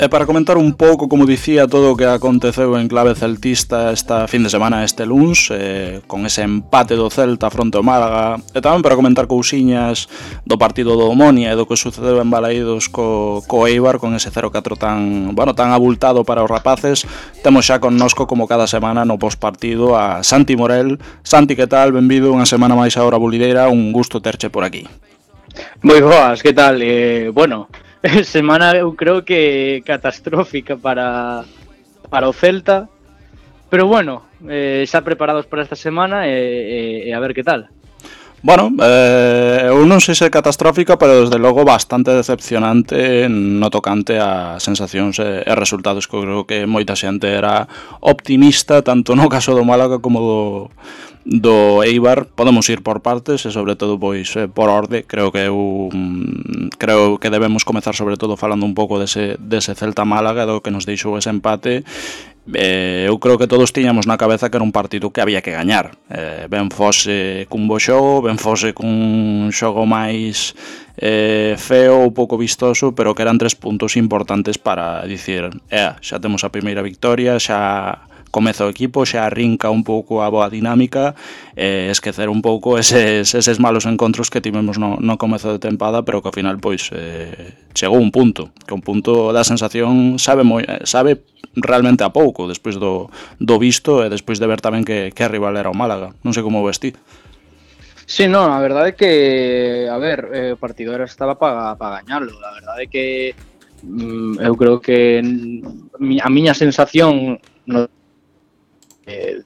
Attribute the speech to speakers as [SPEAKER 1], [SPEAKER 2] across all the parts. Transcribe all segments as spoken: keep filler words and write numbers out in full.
[SPEAKER 1] para comentar un pouco, como dicía, todo o que aconteceu en clave celtista esta fin de semana, este luns, eh, con ese empate do Celta fronte ao Málaga, e tamén para comentar cousiñas do partido do Omonia e do que sucedeu en Balaídos co, co Eibar, con ese cero catro tan, bueno, tan abultado para os rapaces. Temos xa connosco, como cada semana, no postpartido a Santi Morel. Santi, que tal? Benvido unha semana máis a Hora Bulideira, un gusto terche por aquí.
[SPEAKER 2] Moi boas, que tal? Eh, bueno, semana eu creo que catastrófica para, para o Celta, pero bueno, eh, xa preparados para esta semana e, e, e a ver que tal.
[SPEAKER 1] Bueno, eh, eu non sei se catastrófica, pero desde logo bastante decepcionante no tocante a sensacións e, e resultados, que eu creo que moita xente era optimista, tanto no caso do Málaga como do, do Eibar. Podemos ir por partes e sobre todo pois por orde. Creo que eu creo que debemos comezar sobre todo falando un pouco dese, dese Celta Málaga, do que nos deixou ese empate. Eh, eu creo que todos tiñamos na cabeza que era un partido que había que gañar, eh, ben fose cun bo xogo, ben fose cun xogo máis eh, feo ou pouco vistoso, pero que eran tres puntos importantes para dicir, eh, xa temos a primeira victoria, xa comeza o equipo, xa arrinca un pouco a boa dinámica, e eh, esquecer un pouco eses, eses malos encontros que tivemos no, no comezo de tempada, pero que ao final pois eh, chegou un punto, que un punto da sensación sabe moi, sabe realmente a pouco, despois do, do visto e despois de ver tamén que, que a rival era o Málaga. Non sei como o vestí.
[SPEAKER 2] Sí, non, a verdade é que, a ver, eh, o partido era estaba para pa gañarlo. A verdade é que mm, eu creo que a miña sensación no, eh,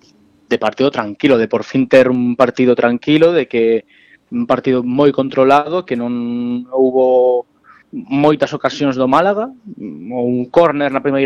[SPEAKER 2] de partido tranquilo, de por fin ter un partido tranquilo, de que un partido moi controlado, que non houbo moitas ocasións do Málaga, un córner na primeira